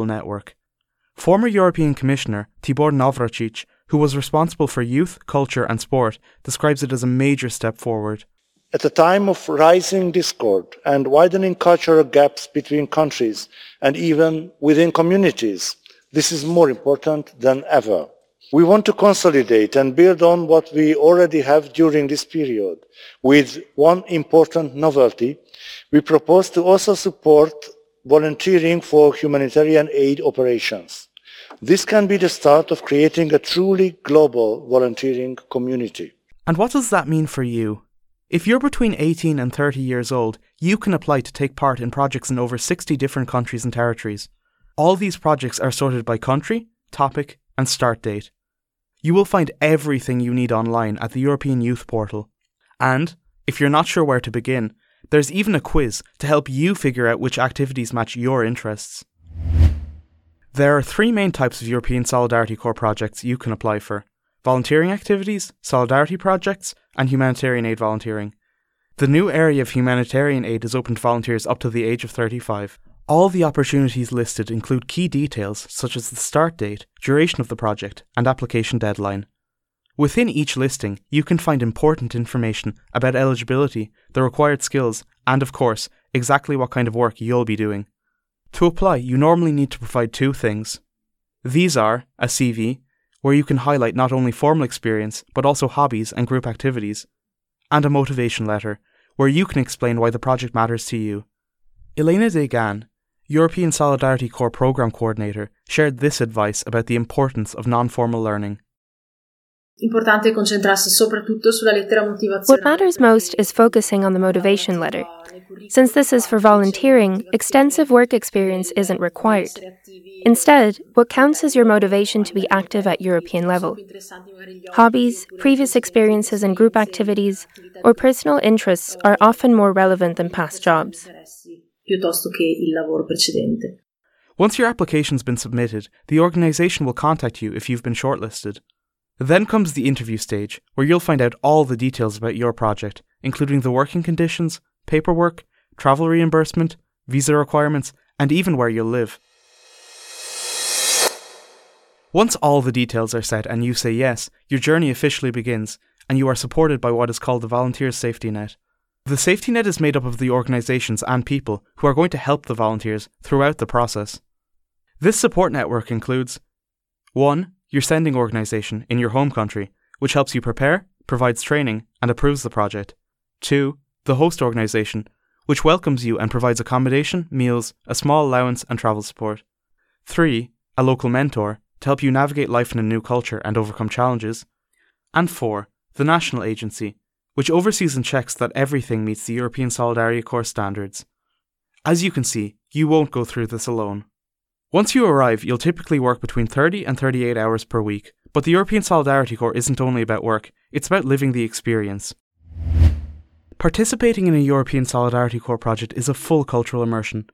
Network. Former European Commissioner Tibor Navracsics, who was responsible for youth, culture and sport, describes it as a major step forward. At a time of rising discord and widening cultural gaps between countries and even within communities, this is more important than ever. We want to consolidate and build on what we already have during this period. With one important novelty, we propose to also support volunteering for humanitarian aid operations. This can be the start of creating a truly global volunteering community. And what does that mean for you? If you're between 18 and 30 years old, you can apply to take part in projects in over 60 different countries and territories. All these projects are sorted by country, topic, and start date. You will find everything you need online at the European Youth Portal. And, if you're not sure where to begin, there's even a quiz to help you figure out which activities match your interests. There are three main types of European Solidarity Corps projects you can apply for volunteering activities, solidarity projects, and humanitarian aid volunteering. The new area of humanitarian aid is open to volunteers up to the age of 35. All the opportunities listed include key details such as the start date, duration of the project, and application deadline. Within each listing, you can find important information about eligibility, the required skills, and of course, exactly what kind of work you'll be doing. To apply, you normally need to provide two things. These are a CV, where you can highlight not only formal experience but also hobbies and group activities, and a motivation letter, where you can explain why the project matters to you. Elena Degan, European Solidarity Corps Programme Coordinator, shared this advice about the importance of non formal learning. Importante concentrarsi soprattutto sulla lettera motivazionale. What matters most is focusing on the motivation letter. Since this is for volunteering, extensive work experience isn't required. Instead, what counts is your motivation to be active at European level. Hobbies, previous experiences in group activities, or personal interests are often more relevant than past jobs. Piuttosto che il lavoro precedente. Once your application's been submitted, the organisation will contact you if you've been shortlisted. Then comes the interview stage, where you'll find out all the details about your project, including the working conditions, paperwork, travel reimbursement, visa requirements, and even where you'll live. Once all the details are set and you say yes, your journey officially begins, and you are supported by what is called the Volunteer Safety Net. The safety net is made up of the organisations and people who are going to help the volunteers throughout the process. This support network includes 1. Your sending organisation in your home country, which helps you prepare, provides training, and approves the project. 2. The host organisation, which welcomes you and provides accommodation, meals, a small allowance, and travel support. 3. A local mentor to help you navigate life in a new culture and overcome challenges. And 4. The national agency, which oversees and checks that everything meets the European Solidarity Corps standards. As you can see, you won't go through this alone. Once you arrive, you'll typically work between 30 and 38 hours per week, but the European Solidarity Corps isn't only about work, it's about living the experience. Participating in a European Solidarity Corps project is a full cultural immersion.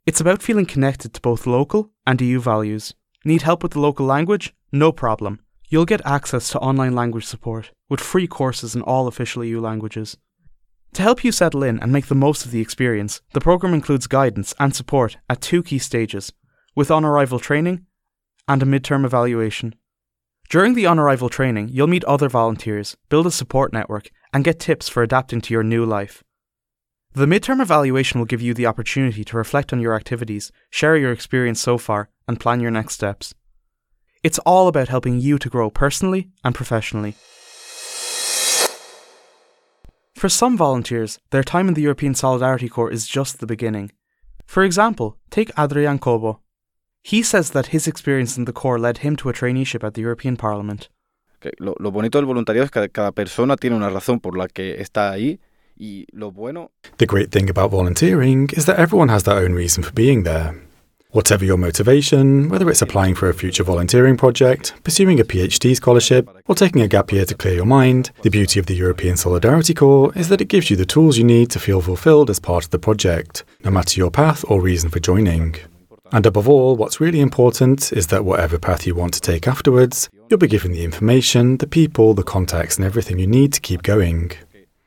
It's about feeling connected to both local and EU values. Need help with the local language? No problem. You'll get access to online language support, with free courses in all official EU languages. To help you settle in and make the most of the experience, the programme includes guidance and support at two key stages with on arrival training and a midterm evaluation. During the on arrival training, you'll meet other volunteers, build a support network, and get tips for adapting to your new life. The midterm evaluation will give you the opportunity to reflect on your activities, share your experience so far, and plan your next steps. It's all about helping you to grow personally and professionally. For some volunteers, their time in the European Solidarity Corps is just the beginning. For example, take Adrian Cobo. He says that his experience in the Corps led him to a traineeship at the European Parliament. Lo, lo bonito del voluntariado es que cada persona tiene una razón por la que está ahí y lo bueno. The great thing about volunteering is that everyone has their own reason for being there. Whatever your motivation, whether it's applying for a future volunteering project, pursuing a PhD scholarship, or taking a gap year to clear your mind, the beauty of the European Solidarity Corps is that it gives you the tools you need to feel fulfilled as part of the project, no matter your path or reason for joining. And above all, what's really important is that whatever path you want to take afterwards, you'll be given the information, the people, the contacts, and everything you need to keep going.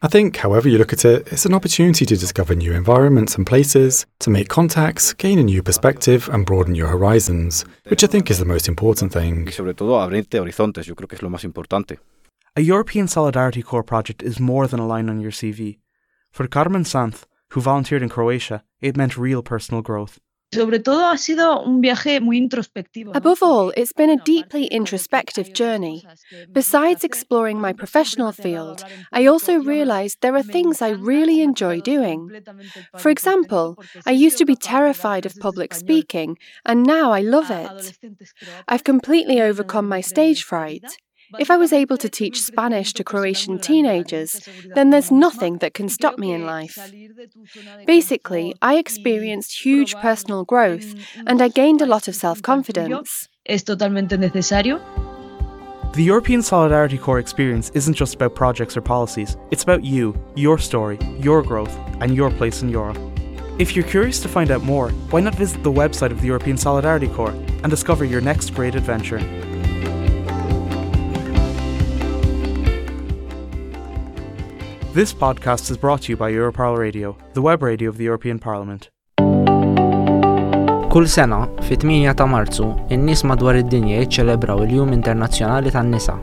I think, however you look at it, it's an opportunity to discover new environments and places, to make contacts, gain a new perspective, and broaden your horizons, which I think is the most important thing. Y sobre todo abrirte horizontes, yo creo que es lo más importante. A European Solidarity Corps project is more than a line on your CV. For Carmen Sanz, who volunteered in Croatia, it meant real personal growth. Sobre todo ha sido un viaje muy introspectivo. Above all, it's been a deeply introspective journey. Besides exploring my professional field, I also realized there are things I really enjoy doing. For example, I used to be terrified of public speaking, and now I love it. I've completely overcome my stage fright. If I was able to teach Spanish to Croatian teenagers, then there's nothing that can stop me in life. Basically, I experienced huge personal growth and I gained a lot of self confidence. Es totalmente necesario. The European Solidarity Corps experience isn't just about projects or policies, it's about you, your story, your growth, and your place in Europe. If you're curious to find out more, why not visit the website of the European Solidarity Corps and discover your next great adventure? This podcast is brought to you by Europarl Radio, the web radio of the European Parliament. Kull sena, fit-8 ta' Marzu, in-nies madwar id-dinja jiċċelebraw il-Jum Internazzjonali tan-Nisa.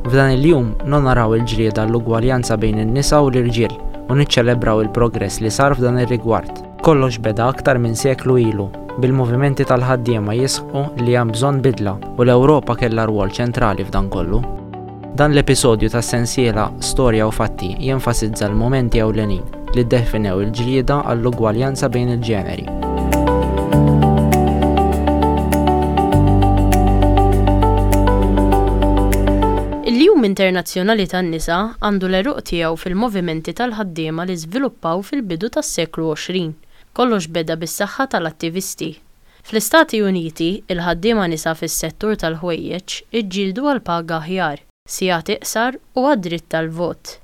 F'dan il-jum nonoraw il-ġlieda l-ugwaljanza bejn in-nisa u l-irġiel u niċċelebraw il-progress li sar f'dan ir-rigward. Kollox beda aktar minn seklu ilu, bil-movimenti tal-ħaddiema jisħqu li hemm bżonn bidla u l-Ewropa kellha rwol ċentrali f'dan kollu. Dan l-episodju tas-sensiela Storja u Fatti jenfasizza l-mumenti ewlenin li ddefinew il-ġlieda għall-ugwaljanza bejn il-ġeneri. Il-Jum Internazzjonali tan-Nisa għandu l-għeruq tiegħu fil-movimenti tal-ħaddiema li żviluppaw fil-bidu tas-seklu 20. Kollox beda bis-saħħa tal-attivisti. Fl-Istati Uniti, il-ħaddiema nisa fis-settur tal-ħwejjeġ iġġieldu għal paga aħjar, sigħat iqsar u għad-dritt tal-vot.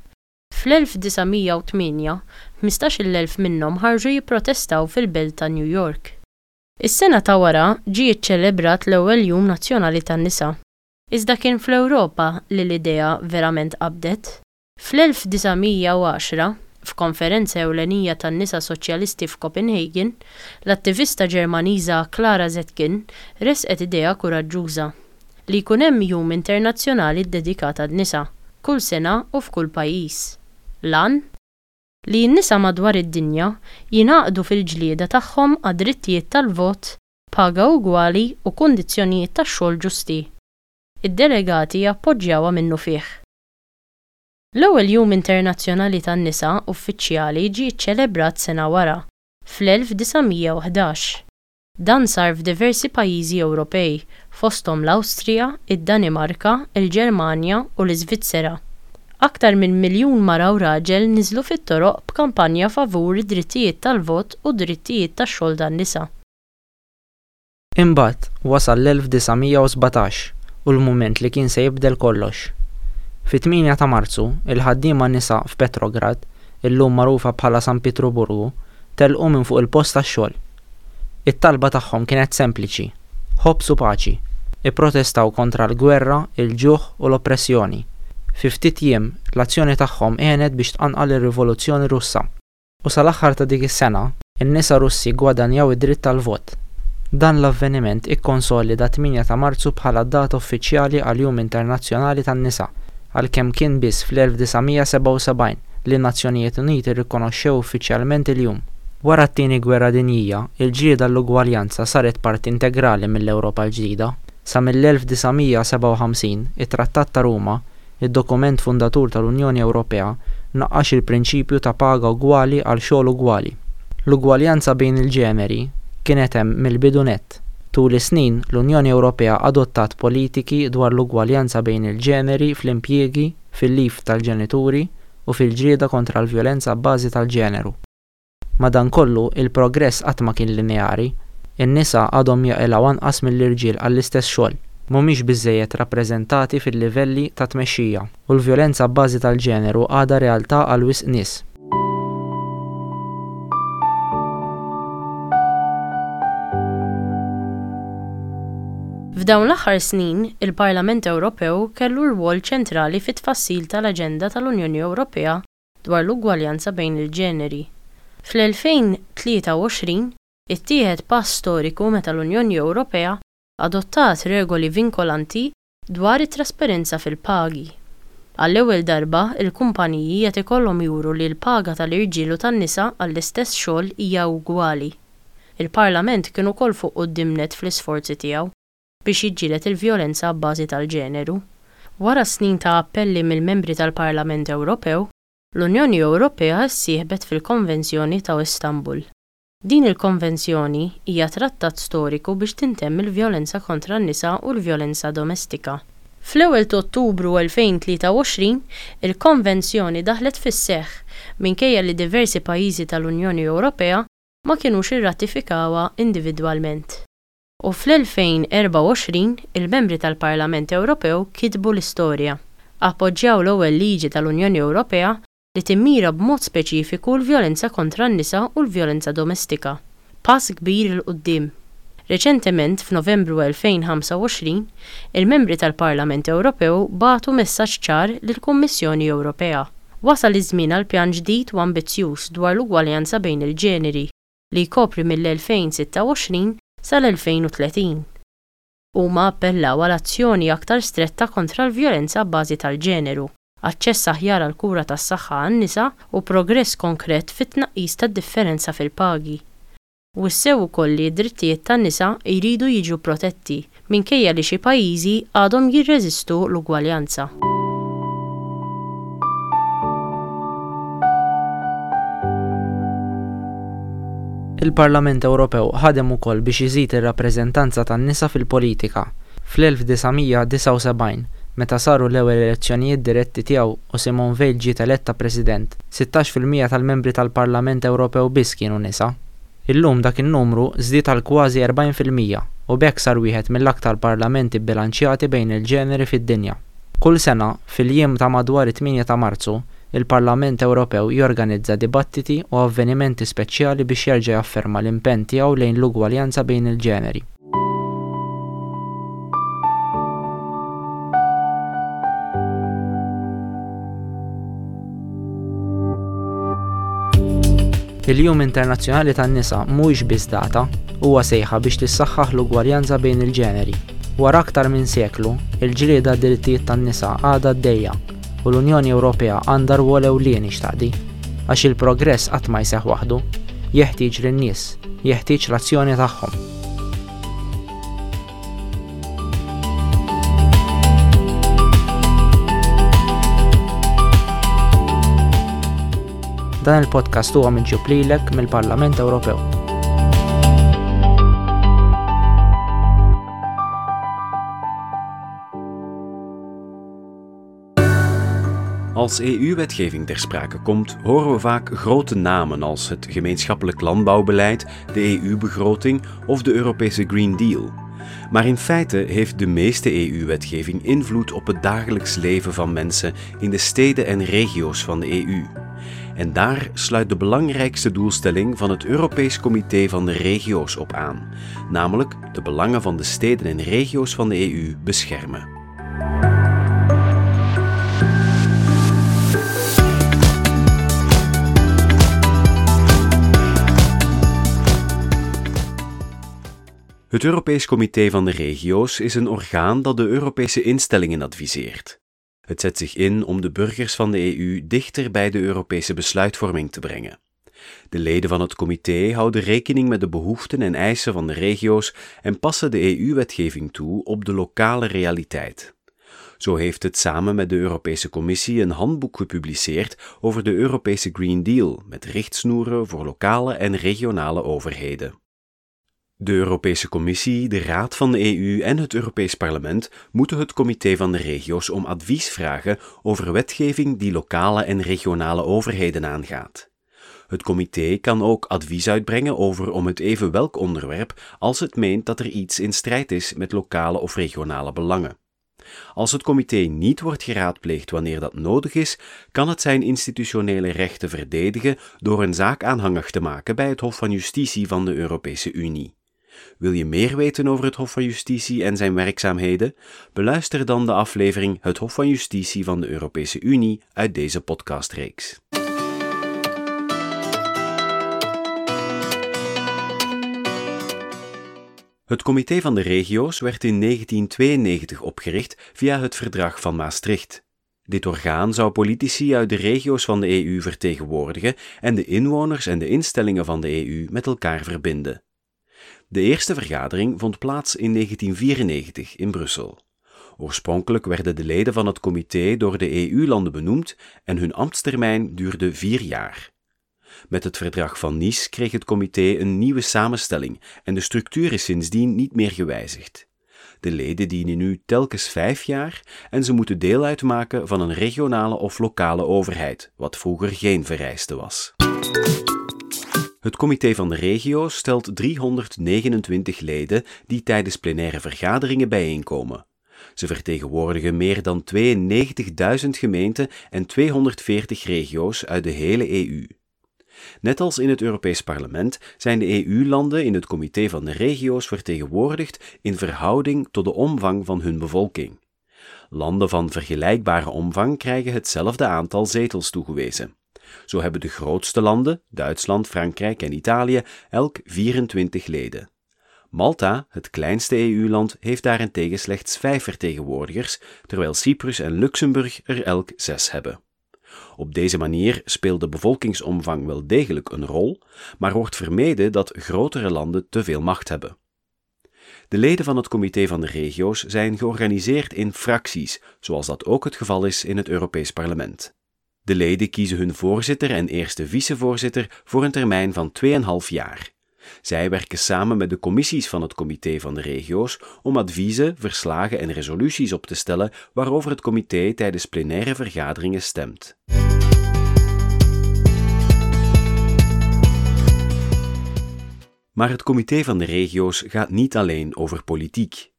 Fl-1908, 15,000 minnhom ħarġu jipprotestaw fil-belt ta' New York. Is-sena ta' wara ġie ċċelebrat l-ewwel Jum Nazzjonali tan-Nisa. Iżda kien fl-Ewropa li l-idea verament qabdet. Fl-1910, f'konferenza ewlenija tan-nisa soċjalisti f'Copenhagen, l-attivista Ġermaniża Clara Zetkin ressqet idea kuraġġuża, li jkun hemm jum internazzjonali ddedikat għan-nisa, kull sena u f'kull pajjiż. L-għan? Li n-nisa madwar id-dinja jingħaqdu fil-ġlieda tagħhom għad-drittijiet tal-vot, paga ugwali u kundizzjonijiet tax-xogħol ġusti. Id-delegati appoġġjawha minnufih. L-ewwel Jum Internazzjonali tan-Nisa uffiċjali ġie ċċelebrat sena wara, fl-1911. Dan sar f'diversi pajjiżi Ewropej, fosthom l-Awstrija, id-Danimarka, il-Ġermanja u l-Iżvizzera. Aktar minn miljun mara u raġel niżlu fit-toroq b'kampanja favur id-drittijiet tal-vot u d-drittijiet tax-xogħol tan-nisa. Imbagħad wasal l-1917 u l-mument li kien se jibdel kollox. Fit-8 ta' Marzu, il-ħaddiema nisa f'Petrograd, illum magħrufa bħala San Pietruburgu, telqu minn fuq il-post tax-xogħol. It-talba tagħhom kienet sempliċi, ħobż u paċi. Ipprotestaw kontra l-gwerra, il-ġuħ u l-oppressjoni. Fi ftit jiem, l-azzjoni tagħhom għenet biex tqanqal ir-Rivoluzzjoni Russa. U sal-aħħar ta' dik is-sena, in-nisa Russi ggwadanjaw id-dritt tal-vot. Dan l-avveniment ikkonsolida 8 ta' Marzu bħala d-data uffiċjali għall-Jum Internazzjonali tan-Nisa, għalkemm kien biss fl-1977 li n-Nazzjonijiet Uniti rrikonoxxew uffiċjalment il-jum. Wara t-Tieni Gwerra Dinjija, il-ġlieda għall-ugwaljanza saret parti integrali mill-Ewropa l-ġdida. Sa mill-1957, it-Trattat ta' Ruma Id-dokument fundatur tal-Unjoni Ewropea naqqax il-prinċipju ta' paga ugwali għal xogħol ugwali. L-ugwaljanza bejn il-ġeneri kienet hemm mill-bidu nett. Tul is-snin, l-Unjoni Ewropea adottat politiki dwar l-ugwaljanza bejn il-ġeneri fl-impjiegi, fil-leave tal-ġenituri u fil-ġlieda kontra l-vjolenza abbażi tal-ġeneru. Madankollu, il-progress qatt ma kien lineari. In-nisa għadhom jaqilgħu anqas mill-irġiel għall-istess xogħol, mhumiex biżżejjed rappreżentati fil-livelli ta' tmexxija, u l-vjolenza abbażi tal-ġeneru għadha realtà għal wisq nies. F'dawn l-aħħar snin, il-Parlament Ewropew kellu rwol ċentrali fit-tfassil tal-aġenda tal-Unjoni Ewropea. dwar l-ugwaljanza bejn il-ġeneri. Fl-2023, ittieħed pass storiku meta l-Unjoni Ewropea adottat regoli vinkolanti dwar it-trasparenza fil-pagi. Għall-ewwel darba, il-kumpaniji qed ikollhom juru li l-paga tal-irġiel u tan-nisa għall-istess xogħol hija ugwali. Il-Parlament kien ukoll fuq quddiem nett fl-isforzi tiegħu biex jiġġieled il-vjolenza abbażi tal-ġeneru. Wara snin ta' appelli mill-Membri tal-Parlament Ewropew, l-Unjoni Ewropea ssieħbet fil-Konvenzjoni ta' Istanbul. Din il-konvenzjoni hija trattat storiku biex tintemm il-vjolenza kontra n-nisa u l-vjolenza domestika. Fl-ewwel t'Ottubru 2023, il-konvenzjoni daħlet fis-seħħ minkejja li diversi pajjiżi tal-Unjoni Ewropea ma kinux irratifikawha individwalment. U fl-2024, il-Membri tal-Parlament Ewropew kitbu l-istorja. Appoġġjaw l-ewwel liġi tal-Unjoni Ewropea li timmira b'mod speċifiku l-vjolenza kontra n-nisa u l-vjolenza domestika. Pass kbir 'il quddiem. Reċentement, f'Novembru 2025, il-Membri tal-Parlament Ewropew bagħtu messaġġ ċar lill-Kummissjoni Ewropea. Wasal iż-żmien għal pjan ġdid u ambizzjuż dwar l-ugwaljanza bejn il-ġeneri, li jkopri mill-2026 sal-2030. Huma appellaw għal azzjoni aktar stretta kontra l-vjolenza abbażi tal-ġeneru, aċċess aħjar għall-kura tas-saħħa għan-nisa u progress konkret fit-tnaqqis tad-differenza fil-pagi. Wissew ukoll li d-drittijiet tan-nisa jridu jiġu protetti, minkejja li xi pajjiżi għadhom jirreżistu l-ugwaljanza. Il-Parlament Ewropew ħadem ukoll biex iżid ir-rappreżentanza tan-nisa fil-politika. Fl-1979, meta saru l-ewwel elezzjonijiet diretti tiegħu u Simone Veil ġiet eletta President, 16% tal-membri tal-Parlament Ewropew biss kienu nisa. Illum dak in-numru żdied għal kważi 40% u b'hekk sar wieħed mill-aktar parlamenti bbilanċjati bejn il-ġeneri fid-dinja. Kull sena, fil-jiem ta' madwar it-tmienja ta' Marzu, il-Parlament Ewropew jorganizza dibattiti u avvenimenti speċjali biex jerġa' jafferma l-impenn tiegħu lejn l-ugwaljanza bejn il-ġeneri. Il-Jum Internazzjonali tan-Nisa mhuwiex biss data, huwa sejħa biex tissaħħaħ l-ugwaljanza bejn il-ġeneri. Wara aktar minn seklu, il-ġlieda għad-drittijiet tan-nisa għadha għaddejja u l-Unjoni Ewropea għandha rwol ewlieni x'taqdi. Għax il-progress qatt ma jseħħ waħdu. Jeħtieġ lin-nies. Jeħtieġ l-azzjoni tagħhom. Dan il-podcast huwa miġjub lilek mill-Parlament Ewropew. Als EU-wetgeving ter sprake komt, horen we vaak grote namen als het gemeenschappelijk landbouwbeleid, de EU-begroting of de Europese Green Deal. Maar in feite heeft de meeste EU-wetgeving invloed op het dagelijks leven van mensen in de steden en regio's van de EU. En daar sluit de belangrijkste doelstelling van het Europees Comité van de Regio's op aan, namelijk de belangen van de steden en regio's van de EU beschermen. Het Europees Comité van de Regio's is een orgaan dat de Europese instellingen adviseert. Het zet zich in om de burgers van de EU dichter bij de Europese besluitvorming te brengen. De leden van het comité houden rekening met de behoeften en eisen van de regio's en passen de EU-wetgeving toe op de lokale realiteit. Zo heeft het samen met de Europese Commissie een handboek gepubliceerd over de Europese Green Deal met richtsnoeren voor lokale en regionale overheden. De Europese Commissie, de Raad van de EU en het Europees Parlement moeten het Comité van de Regio's om advies vragen over wetgeving die lokale en regionale overheden aangaat. Het comité kan ook advies uitbrengen over om het even welk onderwerp als het meent dat er iets in strijd is met lokale of regionale belangen. Als het comité niet wordt geraadpleegd wanneer dat nodig is, kan het zijn institutionele rechten verdedigen door een zaak aanhangig te maken bij het Hof van Justitie van de Europese Unie. Wil je meer weten over het Hof van Justitie en zijn werkzaamheden? Beluister dan de aflevering Het Hof van Justitie van de Europese Unie uit deze podcastreeks. Het Comité van de Regio's werd in 1992 opgericht via het Verdrag van Maastricht. Dit orgaan zou politici uit de regio's van de EU vertegenwoordigen en de inwoners en de instellingen van de EU met elkaar verbinden. De eerste vergadering vond plaats in 1994 in Brussel. Oorspronkelijk werden de leden van het comité door de EU-landen benoemd en hun ambtstermijn duurde 4 jaar. Met het Verdrag van Nice kreeg het comité een nieuwe samenstelling en de structuur is sindsdien niet meer gewijzigd. De leden dienen nu telkens 5 jaar en ze moeten deel uitmaken van een regionale of lokale overheid, wat vroeger geen vereiste was. Het Comité van de Regio's stelt 329 leden die tijdens plenaire vergaderingen bijeenkomen. Ze vertegenwoordigen meer dan 92.000 gemeenten en 240 regio's uit de hele EU. Net als in het Europees Parlement zijn de EU-landen in het Comité van de Regio's vertegenwoordigd in verhouding tot de omvang van hun bevolking. Landen van vergelijkbare omvang krijgen hetzelfde aantal zetels toegewezen. Zo hebben de grootste landen, Duitsland, Frankrijk en Italië, elk 24 leden. Malta, het kleinste EU-land, heeft daarentegen slechts 5 vertegenwoordigers, terwijl Cyprus en Luxemburg er elk 6 hebben. Op deze manier speelt de bevolkingsomvang wel degelijk een rol, maar wordt vermeden dat grotere landen te veel macht hebben. De leden van het Comité van de Regio's zijn georganiseerd in fracties, zoals dat ook het geval is in het Europees Parlement. De leden kiezen hun voorzitter en eerste vicevoorzitter voor een termijn van 2,5 jaar. Zij werken samen met de commissies van het Comité van de Regio's om adviezen, verslagen en resoluties op te stellen waarover het comité tijdens plenaire vergaderingen stemt. Maar het Comité van de Regio's gaat niet alleen over politiek.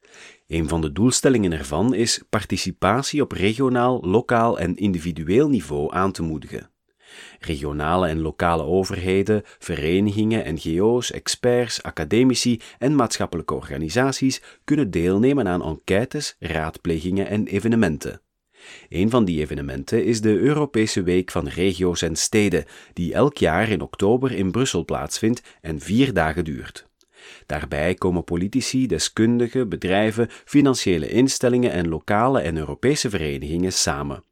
Een van de doelstellingen ervan is participatie op regionaal, lokaal en individueel niveau aan te moedigen. Regionale en lokale overheden, verenigingen, NGO's, experts, academici en maatschappelijke organisaties kunnen deelnemen aan enquêtes, raadplegingen en evenementen. Een van die evenementen is de Europese Week van Regio's en Steden, die elk jaar in oktober in Brussel plaatsvindt en 4 dagen duurt. Daarbij komen politici, deskundigen, bedrijven, financiële instellingen en lokale en Europese verenigingen samen.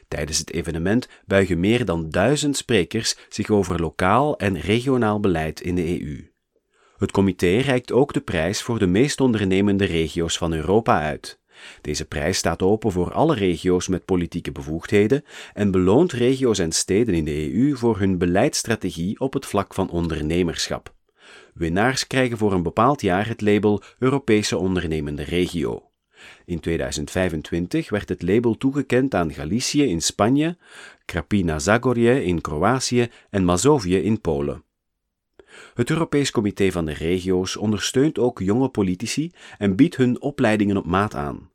Tijdens het evenement buigen meer dan 1000 sprekers zich over lokaal en regionaal beleid in de EU. Het comité reikt ook de prijs voor de meest ondernemende regio's van Europa uit. Deze prijs staat open voor alle regio's met politieke bevoegdheden en beloont regio's en steden in de EU voor hun beleidsstrategie op het vlak van ondernemerschap. Winnaars krijgen voor een bepaald jaar het label Europese Ondernemende Regio. In 2025 werd het label toegekend aan Galicië in Spanje, Krapina-Zagorje in Kroatië en Mazovië in Polen. Het Europees Comité van de Regio's ondersteunt ook jonge politici en biedt hun opleidingen op maat aan.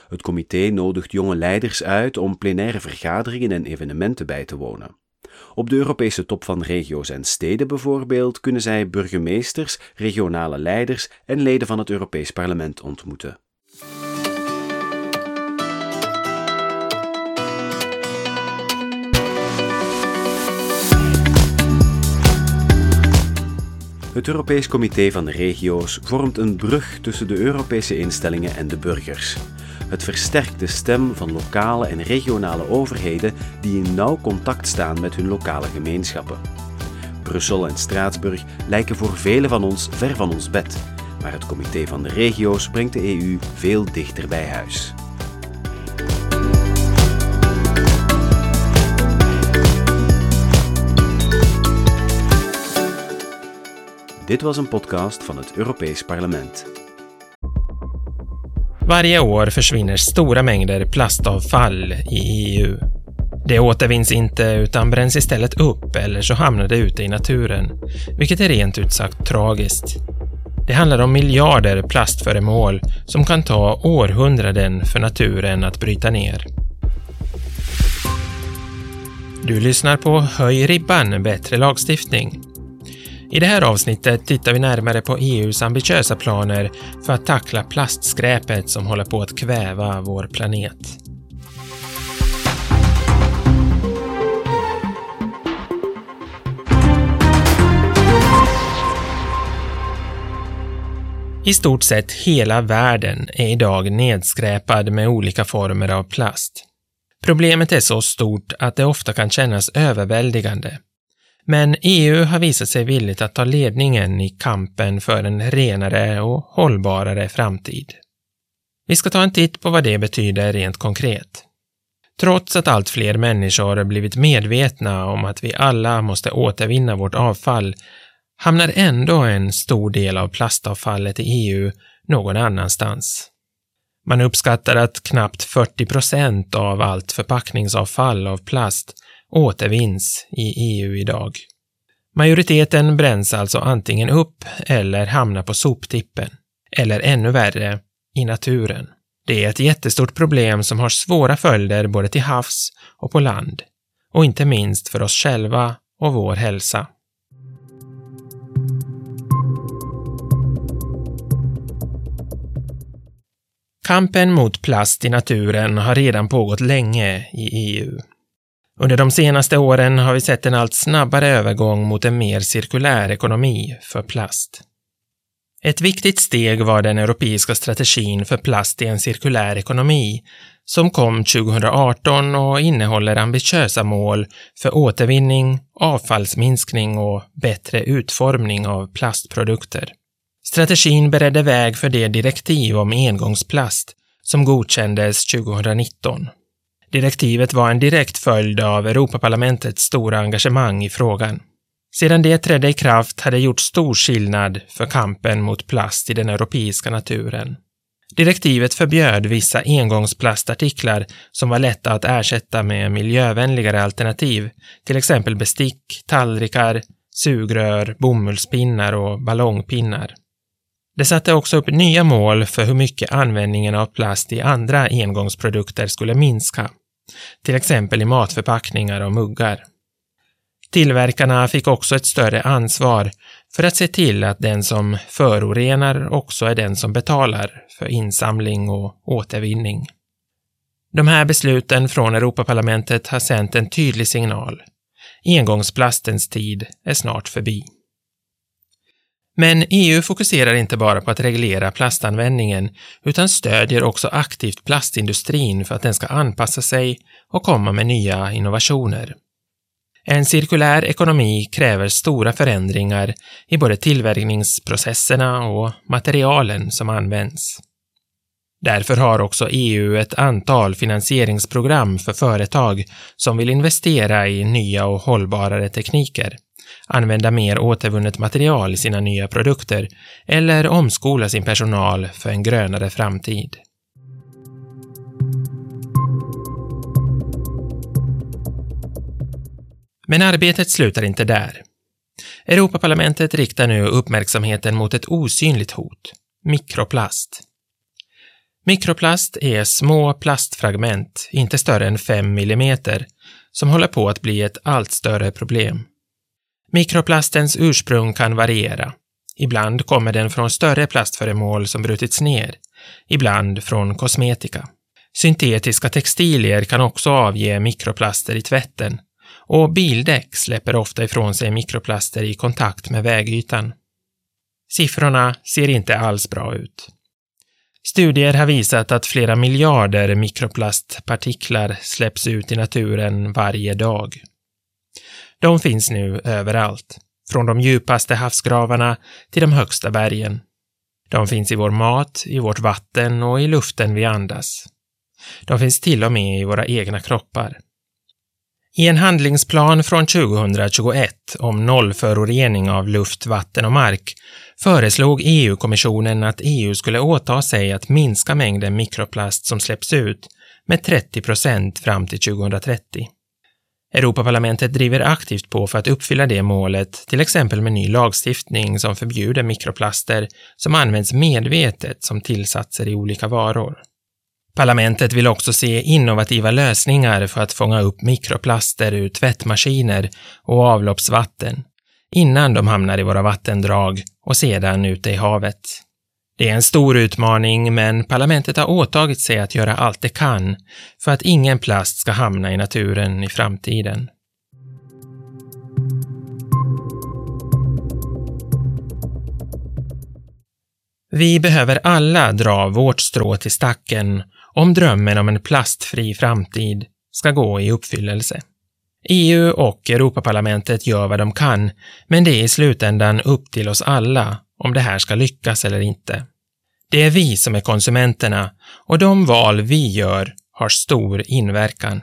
Het comité nodigt jonge leiders uit om plenaire vergaderingen en evenementen bij te wonen. Op de Europese top van regio's en steden bijvoorbeeld kunnen zij burgemeesters, regionale leiders en leden van het Europees Parlement ontmoeten. Het Europees Comité van de Regio's vormt een brug tussen de Europese instellingen en de burgers. Het versterkt de stem van lokale en regionale overheden die in nauw contact staan met hun lokale gemeenschappen. Brussel en Straatsburg lijken voor velen van ons ver van ons bed, maar het Comité van de Regio's brengt de EU veel dichter bij huis. Dit was een podcast van het Europees Parlement. Varje år försvinner stora mängder plastavfall i EU. Det återvinns inte utan bränns istället upp eller så hamnar det ute i naturen, vilket är rent ut sagt tragiskt. Det handlar om miljarder plastföremål som kan ta århundraden för naturen att bryta ner. Du lyssnar på Höj ribban, bättre lagstiftning. I det här avsnittet tittar vi närmare på EUs ambitiösa planer för att tackla plastskräpet som håller på att kväva vår planet. I stort sett hela världen är idag nedskräpad med olika former av plast. Problemet är så stort att det ofta kan kännas överväldigande. Men EU har visat sig villigt att ta ledningen i kampen för en renare och hållbarare framtid. Vi ska ta en titt på vad det betyder rent konkret. Trots att allt fler människor blivit medvetna om att vi alla måste återvinna vårt avfall hamnar ändå en stor del av plastavfallet i EU någon annanstans. Man uppskattar att knappt 40% av allt förpackningsavfall av plast återvinns i EU idag. Majoriteten bränns alltså antingen upp eller hamnar på soptippen, eller ännu värre, i naturen. Det är ett jättestort problem som har svåra följder både till havs och på land, och inte minst för oss själva och vår hälsa. Kampen mot plast i naturen har redan pågått länge i EU. Under de senaste åren har vi sett en allt snabbare övergång mot en mer cirkulär ekonomi för plast. Ett viktigt steg var den europeiska strategin för plast i en cirkulär ekonomi som kom 2018 och innehåller ambitiösa mål för återvinning, avfallsminskning och bättre utformning av plastprodukter. Strategin beredde väg för det direktiv om engångsplast som godkändes 2019. Direktivet var en direkt följd av Europaparlamentets stora engagemang i frågan. Sedan det trädde i kraft hade det gjort stor skillnad för kampen mot plast i den europeiska naturen. Direktivet förbjöd vissa engångsplastartiklar som var lätta att ersätta med miljövänligare alternativ, till exempel bestick, tallrikar, sugrör, bomullspinnar och ballongpinnar. Det satte också upp nya mål för hur mycket användningen av plast i andra engångsprodukter skulle minska, till exempel i matförpackningar och muggar. Tillverkarna fick också ett större ansvar för att se till att den som förorenar också är den som betalar för insamling och återvinning. De här besluten från Europaparlamentet har sänt en tydlig signal. Engångsplastens tid är snart förbi. Men EU fokuserar inte bara på att reglera plastanvändningen utan stödjer också aktivt plastindustrin för att den ska anpassa sig och komma med nya innovationer. En cirkulär ekonomi kräver stora förändringar i både tillverkningsprocesserna och materialen som används. Därför har också EU ett antal finansieringsprogram för företag som vill investera i nya och hållbarare tekniker, använda mer återvunnet material i sina nya produkter eller omskola sin personal för en grönare framtid. Men arbetet slutar inte där. Europaparlamentet riktar nu uppmärksamheten mot ett osynligt hot, mikroplast. Mikroplast är små plastfragment, inte större än 5 millimeter, som håller på att bli ett allt större problem. Mikroplastens ursprung kan variera. Ibland kommer den från större plastföremål som brutits ner, ibland från kosmetika. Syntetiska textilier kan också avge mikroplaster i tvätten och bildäck släpper ofta ifrån sig mikroplaster i kontakt med vägytan. Siffrorna ser inte alls bra ut. Studier har visat att flera miljarder mikroplastpartiklar släpps ut i naturen varje dag. De finns nu överallt, från de djupaste havsgravarna till de högsta bergen. De finns i vår mat, i vårt vatten och i luften vi andas. De finns till och med i våra egna kroppar. I en handlingsplan från 2021 om nollförorening av luft, vatten och mark föreslog EU-kommissionen att EU skulle åta sig att minska mängden mikroplast som släpps ut med 30% fram till 2030. Europaparlamentet driver aktivt på för att uppfylla det målet, till exempel med ny lagstiftning som förbjuder mikroplaster som används medvetet som tillsatser i olika varor. Parlamentet vill också se innovativa lösningar för att fånga upp mikroplaster ur tvättmaskiner och avloppsvatten innan de hamnar i våra vattendrag och sedan ute i havet. Det är en stor utmaning, men parlamentet har åtagit sig att göra allt det kan för att ingen plast ska hamna i naturen i framtiden. Vi behöver alla dra vårt strå till stacken om drömmen om en plastfri framtid ska gå i uppfyllelse. EU och Europaparlamentet gör vad de kan, men det är i slutändan upp till oss alla om det här ska lyckas eller inte. Det är vi som är konsumenterna och de val vi gör har stor inverkan.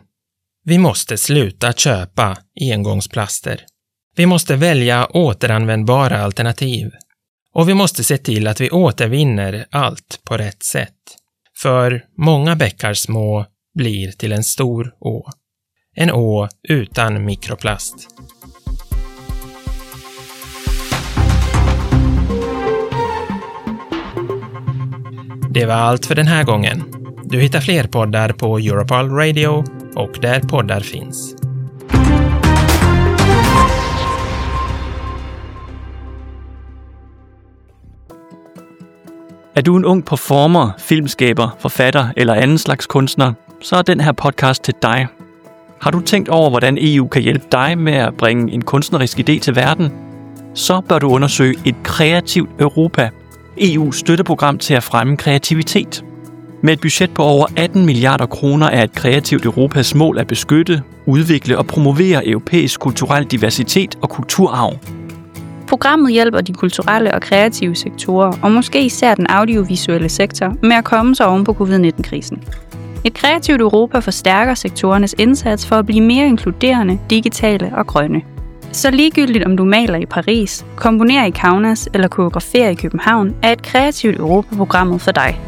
Vi måste sluta köpa engångsplaster. Vi måste välja återanvändbara alternativ. Och vi måste se till att vi återvinner allt på rätt sätt. För många bäckar små blir till en stor å. En å utan mikroplast. Det var allt för den här gången. Du hittar fler poddar på Europol Radio och där poddar finns. Er du en ung performer, filmskaber, forfatter eller anden slags kunstner, så er den her podcast til dig. Har du tænkt over, hvordan EU kan hjælpe dig med at bringe en kunstnerisk idé til verden? Så bør du undersøge et kreativt Europa, EU's støtteprogram til at fremme kreativitet. Med et budget på over 18 milliarder kroner er et kreativt Europas mål at beskytte, udvikle og promovere europæisk kulturel diversitet og kulturarv. Programmet hjælper de kulturelle og kreative sektorer, og måske især den audiovisuelle sektor, med at komme sig oven på covid-19-krisen. Et kreativt Europa forstærker sektorernes indsats for at blive mere inkluderende, digitale og grønne. Så ligegyldigt om du maler i Paris, komponerer i Kaunas eller koreograferer i København, er et kreativt Europa-programmet for dig.